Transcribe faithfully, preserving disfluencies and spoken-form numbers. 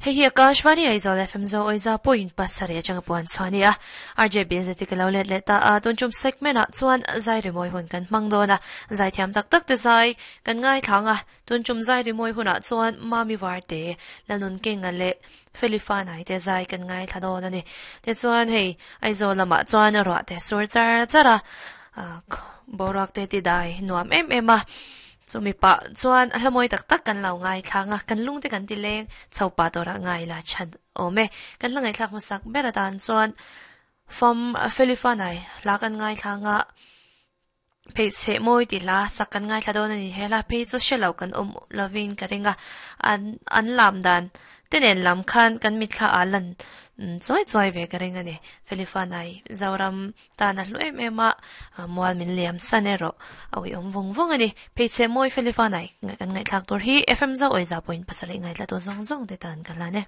Hei hi Akashvani Aizawl F M zo oiza point pasarih atanga puan chhuah a R J B Z ka lo let leh ta a tun chum segment ah chuan zai rimawi hun kan hmang dawn a zai thiam tak tak te zai kan ngai thlang a tun chum zai rimawi hunah chuan mami var te lalun kenga leh Felifa nai te zai kan ngai thla dawn ani te chuan hei Aizawl lamah chuan ruah te sur char char a boruak te ti dai nuam em em a chumi pa chuan a hlamawi tak tak kan lo ngai thlang a kan lung te kan ti leng chho pa tura ngai la chan awm e kan la ngaithlak hmasak ber atan chuan fam Felifa nai hla kan ngai thlang a phei chhe mawi ti hla sak kan ngai thla dawn ani hela phei chu hrelo kan awm lovin ka ring a an an lam dan tenen lam khan kan mithla a lan chuai chuai ve ka ring ani Felifa nai Zoram tan a hlu em em a mual min liam san erawh a ui awm vawng vawng ani phei chhe mawi Felifa nai kan ngaihthlak tur hi F M zo oiza point pasarih ngaithla tu zawng zawng te tan ka hlan e.